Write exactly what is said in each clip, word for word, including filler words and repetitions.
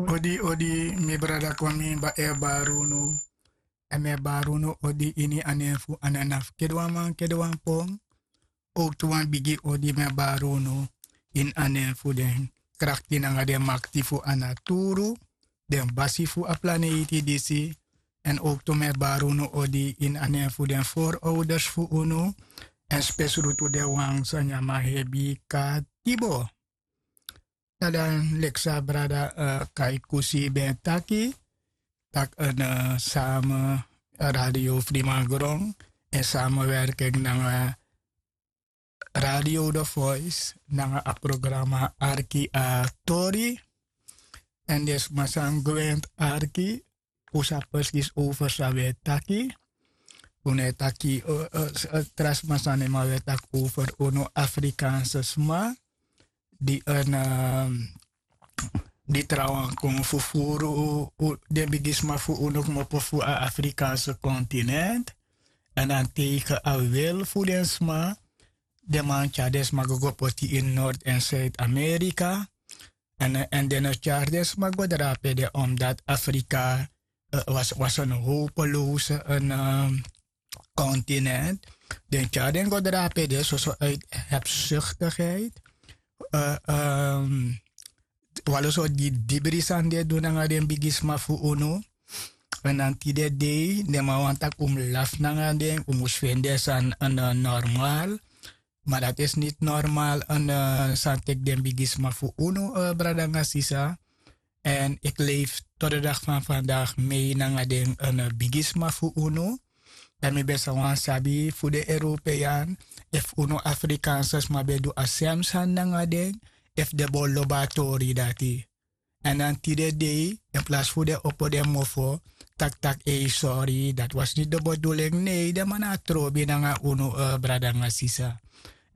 Odi odi, mi brada kon mi ba e bari unu. Èn mi e bari unu odi ini a nen fu a nana fu kede wan man kede wan pon. Owktu wan bigi odi mi e bari unu ini a nen fu den krakti nanga den makti fu a naturu, den basi fu a planeiti disi. Èn owktu mi e bari unu odi ini a nen fu den forowders fu unu. Èn spesrutu den wan san nyan man hebi katibo. Na dan leki san a brada kaikusi ben taki, tak' en same radio frimangron, en samenwerking nanga radio the voice nanga a programa arki a tori. Èn den sma san gwenti arki, un sa presis over san wi e taki. Un no e taki tra sma sani ma wi e taki over unu afrikaanse sma di en di trawan kon fufuru den bigisma fu unu kmopo fu a afrikaanse kontinent. Èn dan tegen a wil fu den sma den man tyari den sma go go poti ini nord èn suid-amerika. Èn den no tyari den sma go drape de omdati afrika was en hopelose en kontinent. Den tyari den go drape de soso uit hebsuktigheid. Walo sortu didibri sani di e du nanga den bigisma fu unu. Èn dan tide dei den man wani tak' un mus lafu nanga den un mus feni den sani normal. Ma dati isi niti normal. San teki den bigisma fu unu brada nanga sisa. Èn iki leifi totodaki fan fandagi mei nanga den bigisma fu unu. Dan mi ben sa wani sabi fu den european efu unu afrikaanse sma ben du a sem sani nanga den, efu den bo lobi a tori dati. Èn dan tide dei in plasi fu den opo den mofo taki tak' ei sori dati wasi niti de beduling nei den man na a trobi nanga unu brada nanga sisa.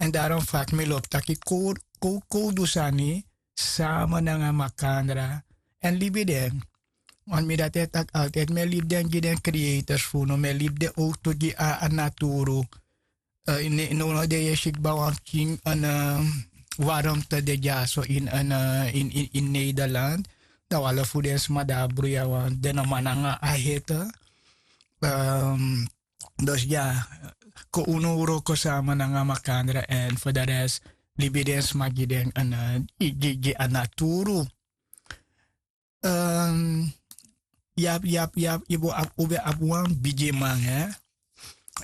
Èn darom faki mi lobi taki kowkowdu sani sama nanga makandra èn libi den. Want mi dati e taki altide mi e libi den gi den creators fu unu mi e libi den owktu gi a naturu. Nownow den yu e si kba wan pikin en warmte de dyaso ini nederland. Dan wan lo fu den sma di a bruya wan den no man nanga a hete. Dus ya, kon unu wroko sama nanga makandra èn fu de res libi den sma gi den gi a naturu. Yabi yabi yabi yu bo abi un ben abi wan bigiman hè.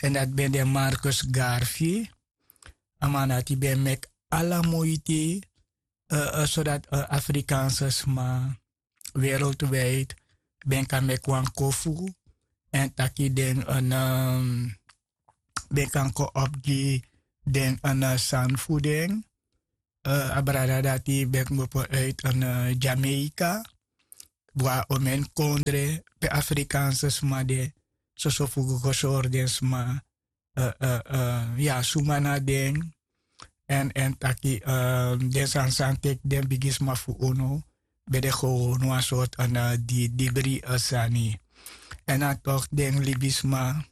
Èn dati ben de marcus garfi. A man dati ben meki ala muiti sodati afrikaanse sma wereldwide ben kan meki wan kofu. Èn taki den ben kan kon opo gi den sani fu den. A brada dati ben kmopo uit en jamaica. Bwa omen kondre pe afrikaanse sma de soso fu go go sori den sma. Ya suma na den. Èn èn taki den sani sani teki den bigisma fu unu ben de gewonu wan sortu en didibri sani. Èn a tok den libisma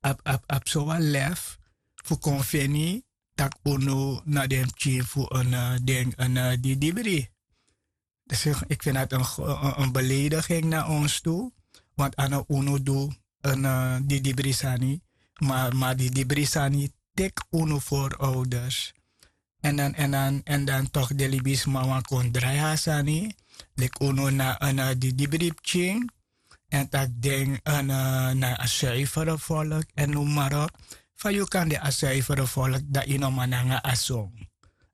abi abi abi so wan lef fu kon feni tak' unu na den pikin fu en den en didibri. Dus iki feni dati en belediging na ons tu. Want a no unu du en didibri sani. Ma ma didibri sani teki unu voorouders. Èn dan èn dan èn dan tok' de libisma wan kon drai a sani leki unu na en didibri pikin. Èn tak' den na a suifere volk èn noem marop. Fa yu kan de a suifere volk dan yu no man nanga a song.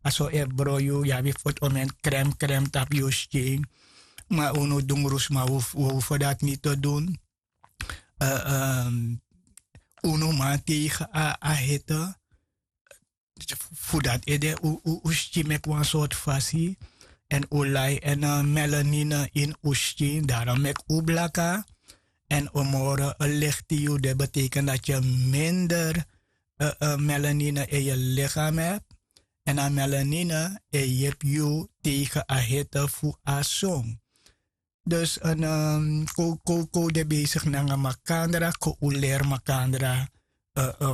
A song e bron yu yu abi fu oti omen krem krem tapu yu skin. Ma unu dungru sma wi hoeven dati niti te dun. Unu man tegen a hete. Fu dati ede un skin meki wan sortu fasi. Èn un lai èn melanine ini un skin darom meki un blaka. Èn un moro ligti yu de beteken dati yu minder melanine in yu ligam hebi. Èn a melanine e yepi yu tegen a hete fu a song. Dus en kowkowkow de besigi nanga makandra kon un leri makandra.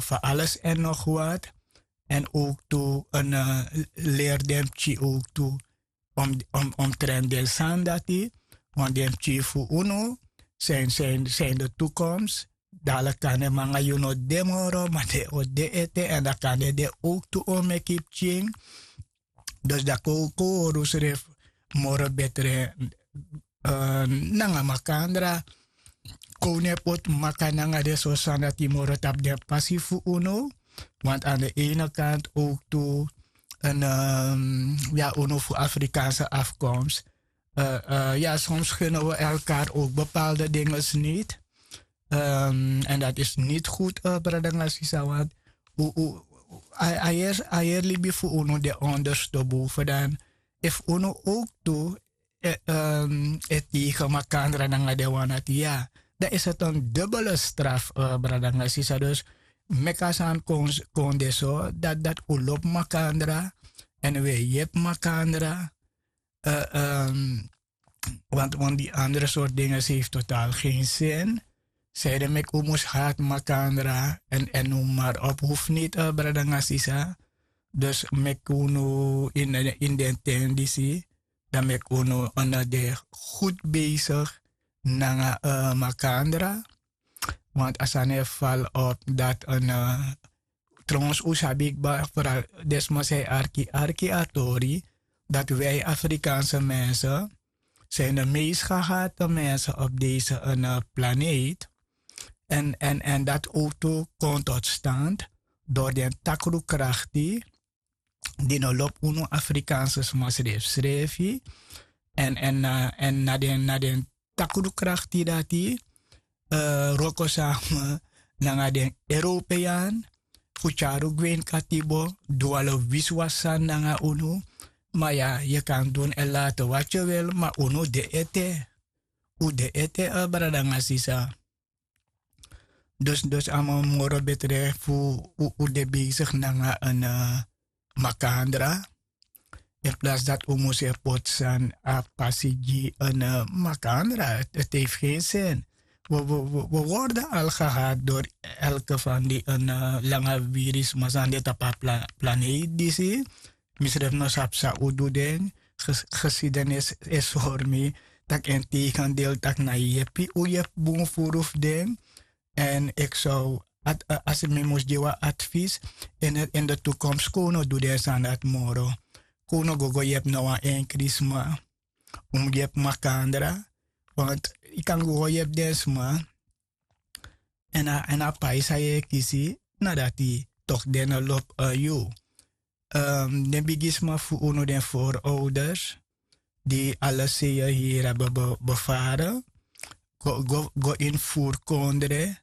Fu ales èn nog wat. Èn owktu en leri den pikin owktu Omtrenti den sani dati, want den pikin fu unu, seni de tukomsi. Dala kande manga yu no de moro ma den o de ete èn dan kande den owktu o meki pikin. Dus dan kon un hori unsrefi moro betre nanga makandra. Kon un no e poti maka nanga den sortu sani dati moro tapu den pasi fu unu. Want an de ene kant owktu, ya, unu fu afrikaanse afkomst. Ya, soms gunnen we elkaar ook bepaalde dingen niet. En dat is niet goed, brada nanga sisa, want a heri libi fu unu de onderste boven dan. Efu unu ook tu e tegen makandra nanga den wan dati, ya, dan is het een dubbele straf, brada nanga sisa. Dus meki a sani kon de so dati un lobi makandra èn un e yepi makandra. Want di andere sortu dingen se hefi totaal gen sin. Seide meki un mus hati makandra èn un mari op hufu niti, brada nanga sisa. Dus meki unu ini den ten disi, dan meki unu de gud besigi nanga makandra. Want a sani e fali op dati, trouwens un sabi kba, foral den sma san e arki arki a tori, dati wi afrikaanse mense seni de meest gehate mense op deze planeet. Èn dati owtu kon tot stand dori den takru krakti di no lobi unu afrikaanse sma srefsrefi. Èn na den takru krakti dati wroko same nanga den european fu tyari un gwe ini katibo, du ala wisiwasi sani nanga unu. Ma ya, yu kan du en laten wat yu wil, ma unu de ete. Un de ete, brada nanga sisa. Dus a man moro betre fu un de besigi nanga en makandra. In plaats dati un mus e poti sani a pasi gi en makandra, het hefi gen sin. We worden al gehad dori elke fan di en langa wirisma san de tapu a planeet disi. Mi srefi no sabi san un du den. Gesidenis e sori mi tak' en tegendel, tak' na yepi un yepi bun furu fu den. Èn eki sow, asi mi mus gi wan advis, ini de tukomsi kon un no du den sani dati moro. Kon un no go go yepi no wan enkri sma. Un mus yepi makandra. Want yu kan go go yepi den sma. Èn a pai san yu e kisi, na dati toki den no lobi yu. Den bigisma fu unu, den forouders di ala sei yu hiri abi befare go ini furu kondre.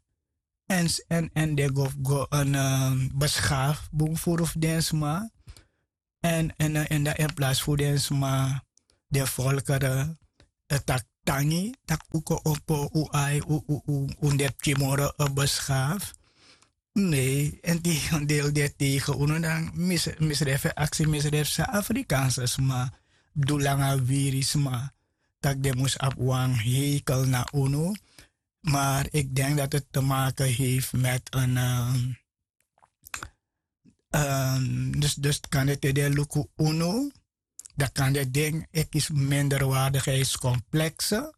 Èn den go fu go en beskafu bun furu fu den sma. Èn dan in plasi fu den sma, den folkere taki tangi, tak' un kon opo un ai, un de pikin moro beskafu. Nei, en tegendeel di e tegen unu dan, mi srefi e aksi mi srefi san afrikaanse sma du langa wiri sma, tak' den mus abi wan hekel na unu. Maar ik denk dat het te maken heeft met een dus kande te den luku unu, dan kande den e kisi minderwaardigheidskomplekse.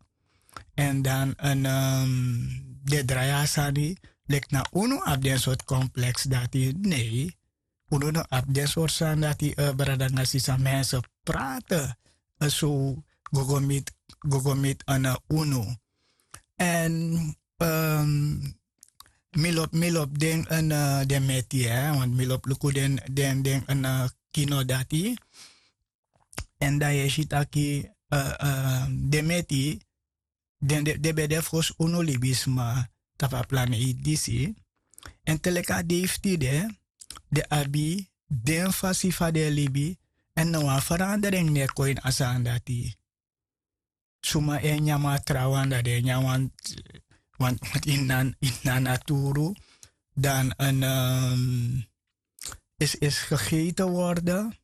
Èn dan den drai a sani leki na unu abi den sortu kompleks dati. Nei, unu no abi den sortu sani dati. Brada nanga sisa, mense prate so go go miti unu. Èn mi lobi den meti, want mi lobi luku den kino dati. Èn dan yu e si taki den meti den ben de fosi unu libisma tapu a planeiti disi. Èn te leki a dei fu tide, den abi den fasi fa den e libi. Èn no wan feranderingi no e kon ini a sani dati. Suma e nyan wan trawan dan den e nyan wan ini a naturu, dan en isi isi gegeten worden.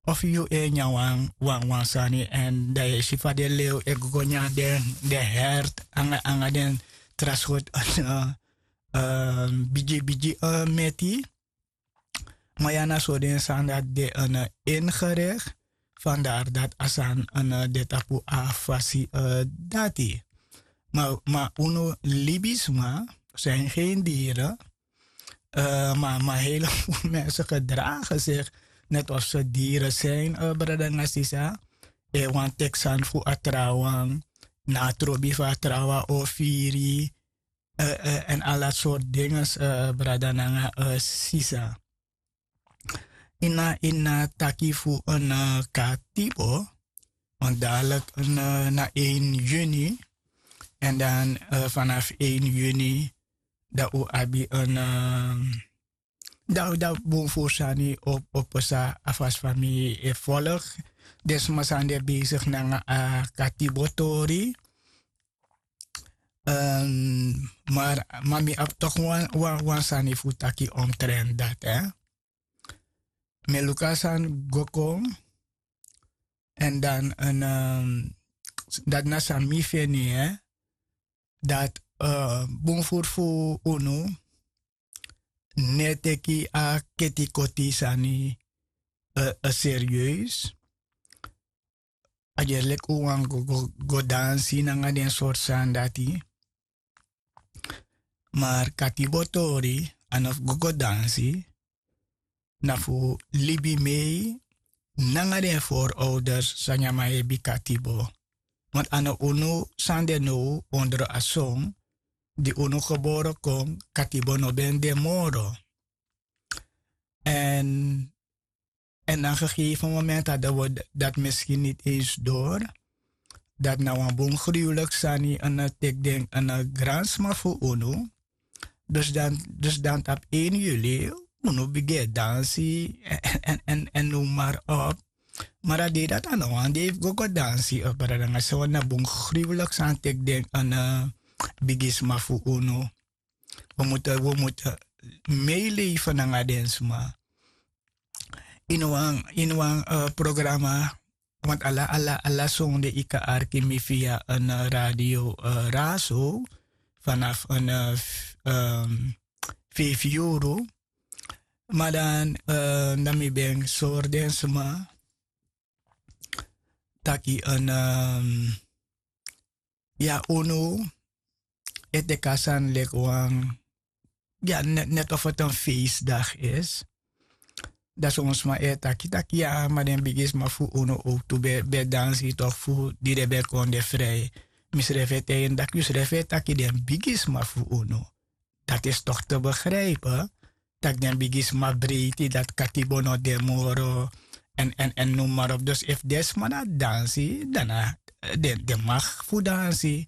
Of yu e nyan wan wan sani èn dan yu e si fa den lew e go go nyan den hert anga den tra sortu bigi bigi meti. Ma ya na so den sani dati de en ingerikti. Fandari dati a sani de tapu a fasi dati. Ma unu libisma, seni gen diren. Ma hele fu mense gedragen sigi neti of se diren seni, brada nanga sisa. E wan teki sani fu a trawan, na a trobi fu a trawan o firi. Èn ala sortu dinges, brada nanga sisa. Ini a ini a taki fu en katibo, want dadelijk na één juni. Èn dan vanaf één juni dan un abi en, dan dan bun furu sani op op pesa a fasi fa mi e volg. Den sma san de besigi nanga a katibo tori. Mar ma mi abi tok wan sani fu taki omtrent dati. Mi e luku a sani go kon. Èn dan dati na san mi feni, dati bun furu fu unu no e teki a ketikoti sani serieus. A gerleki un wani go dansi nanga den sortu sani dati. Mar katibo tori a no fu go go dansi. Na fu libi mei nanga den forouders san nyan man hebi katibo. Want a no unu san de now ondro a son di unu gebore kon, katibo no ben de moro. Èn èn na gegeven moment hadden we dat misschien niet eens door. Dat na wan bun gruwelijk sani en tek den en gransma fu unu. Dus dan dus dan tap één juli unu bigin dansi en en en noem maar op. Maar a dei dat a no wan dei fu go go dansi, brada nanga sisa, want na bun gruwelijk sani tek den en bigisma fu unu. We moeten we moeten meeleven nanga den sma. Ini wan ini wan programma. Want ala ala ala sonde yu kan arki mi via en radio raso vanaf en vijf euro. Maar dan dan mi ben sori den sma taki en ya unu e teki a sani leki wan ya net of het en feestdag is. Dan son sma e taki taki ya ma den bigisma fu unu owtu ben dansi tok fu di den ben kon de vrij. Mi srefi e taigi en daki yu srefi e taki den bigisma fu unu. Dati is tok te begrijpen. Taki den bigisma breiti dati katibo no de moro. En en en noem maar op dus efu den sma na dansi dan na den mag fu dansi.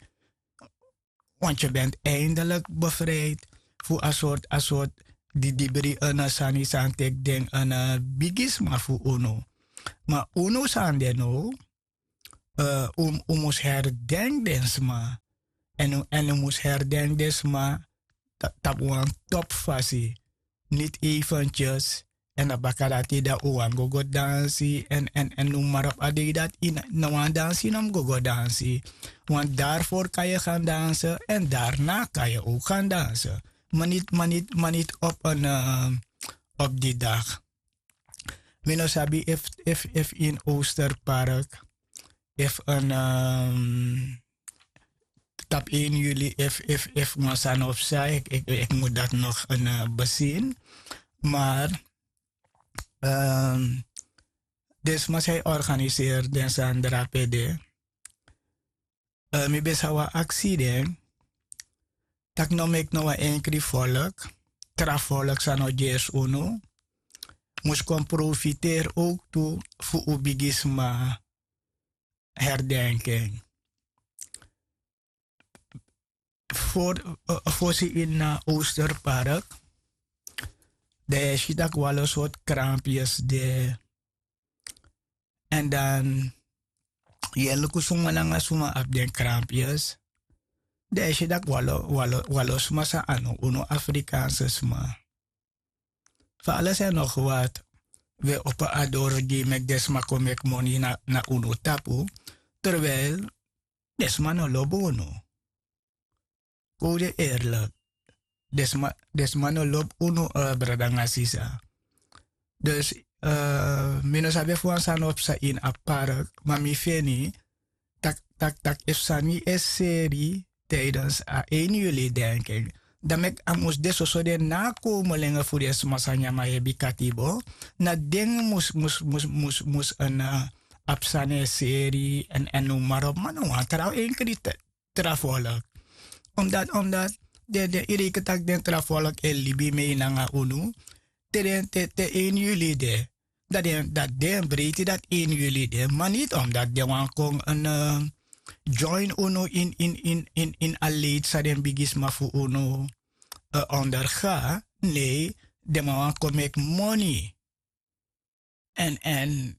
Want yu bent eindelijk bevrijd fu a sort a sort di dibri en sani san teki den en bigisma fu unu. Ma unu san de now un mus herdenki den sma. En un mus herdenki den sma tapu wan topu fasi. Niti eventjes. Èn a baka dati dan un wani go go dansi èn èn èn noem maar op a dei dati ini na wan dansi no mus go go dansi. Want dari fori kan yu gan danse èn dari na kan yu ouk gan danse. Ma niti ma niti ma niti op en op di dag. Mi no sabi efu efu efu ini oosterpark efu en tapu één juli efu efu efu wan sani of san eki eki mus dati nog en besin. Maar den sma san yu organiseri den sani drape de. Mi ben sa wan aksi den tak' no meki no wan enkri folk tra folk san no gersi unu mus kon profiteri owk tu fu un bigisma. Herdenki en fosi ini na oosterpark. Dan yu e si tak' wan lo sortu kranpyes de. Èn dan yu e luku suma nanga suma abi den kranpyes. Dan yu e si tak' wan lo wan lo sma san a no unu afrikaanse sma. Fa ala san yu no gwati wi e opo a doro gi yu meki den sma kon meki moni na unu tapu. Terwijl den sma no lobi unu. Kon un de erlik. Den sma no lobi unu brada nanga sisa. Dus Mi no sabi efu wan sani o psa ini a park, ma mi feni tak' tak' tak' efu sani e seri, tidens a eini yuli denki en, dan meki a mus de soso den na a komo lenge fu den sma san nyan man hebi katibo. Na den mus mus mus mus mus en a psa na en seri. Èn no maro man na wan tra enkri tra folk. Omdati omdati den den yu reiki tak' den tra folk e libi mei nanga unu te den te te eini yuli de. Dati den breiti dati eini yuli de ma niti omdati den wani kon en join unu ini a leiti san den bigisma fu unu onderga. Nei, den man wani kon meki moni. Èn èn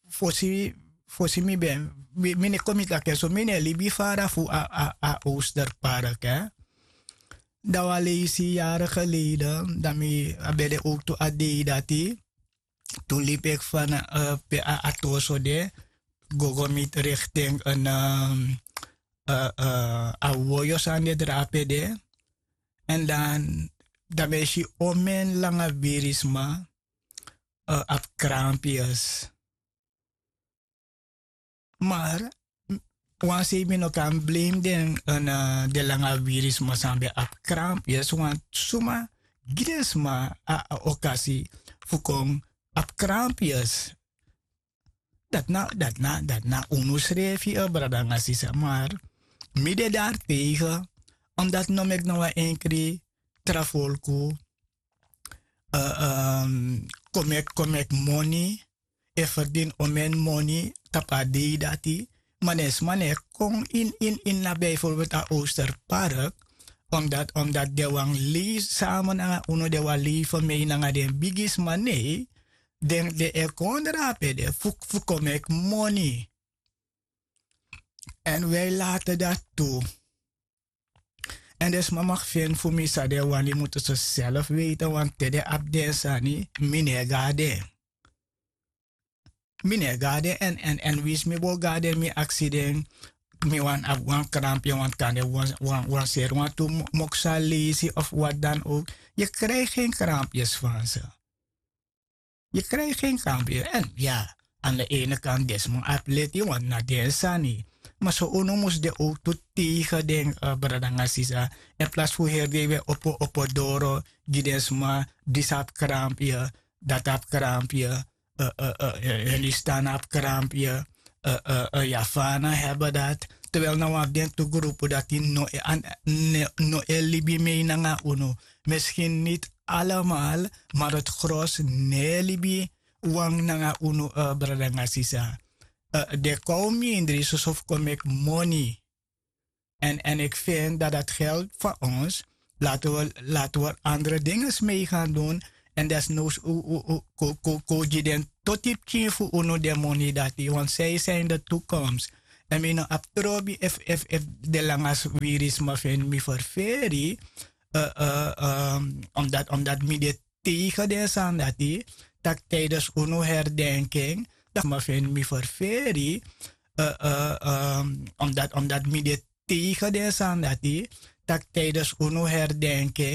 fosi fosi mi ben mi no e kon mi taki en so mi no e libi fara fu a a a osterpark. Dan wan leisi yari geleden dan mi a ben de owktu a dei dati tu libi eki fan pe a a toso de gogo miti rikting en a woyo san de drape de. Èn dan dan ben si omen langa wirisma abi krampius. Mar wan sei mi no kan blame den den langa wirisma san ben abi krampius want suma gi den sma a okasi fu kon abi krampius. Dati na dati na dati na unu srefi brada nanga sisa mar mi de dari tegen. Omdati no meki na wan enkri tra folku kon meki kon meki moni e ferdini omen moni tapu a dei dati. Ma den sma no e kon ini ini ini na bijvorbelt a osterpark. Omdati omdati den wani lei sama nanga unu den wani lei fermei nanga den bigisma nei den den e kon drape de fu kon meki moni. Èn wi e late dati tu. Èn den sma maki feni fu mi san den wani mutu so selfi weiti wantu te den abi den sani. Mi no e go na den mi no e go na den èn èn èn winsi mi bo go na den mi aksi den mi wani abi wan krampi en wantu kan den wan seri wantu moksa leisi of wati dan owk. Yu krijgi gen krampi esi fan se. Yu krijgi gen krampi esi èn ya. An de ene kan den sma abi leti wantu na den sani. Ma so unu mus de owk tu tegen den brada nanga sisa. Èn plasi fu heri den yu e opo opo doro gi den sma disi abi krampi esi dati abi krampi esi. Hindustan abi krampi esi. Yafana heben dati. Terwel na wan fu den tu grupu dati no e libi mei nanga unu. Miskin niti alamal, ma dati gros no e libi wan nanga unu. Brada nanga sisa. Den kon mindri soso fu kon meki moni. Èn èn iki feni dati dati geld fan ons lati wi lati wi andre dinges mei gan dun. Èn desnowsu un un un kon kon kon gi den toti pikin fu unu den moni dati want sei sei ini de tukoms. Èn mi no abi trobi efu efu efu de langa swiri sma feni mi ferferi. Omdati omdati mi de tegen den sani dati tak' tidensi unu herdenki en. Dan sma feni mi ferferi. Omdati omdati mi de tegen den sani dati tak' tidensi unu herdenki en.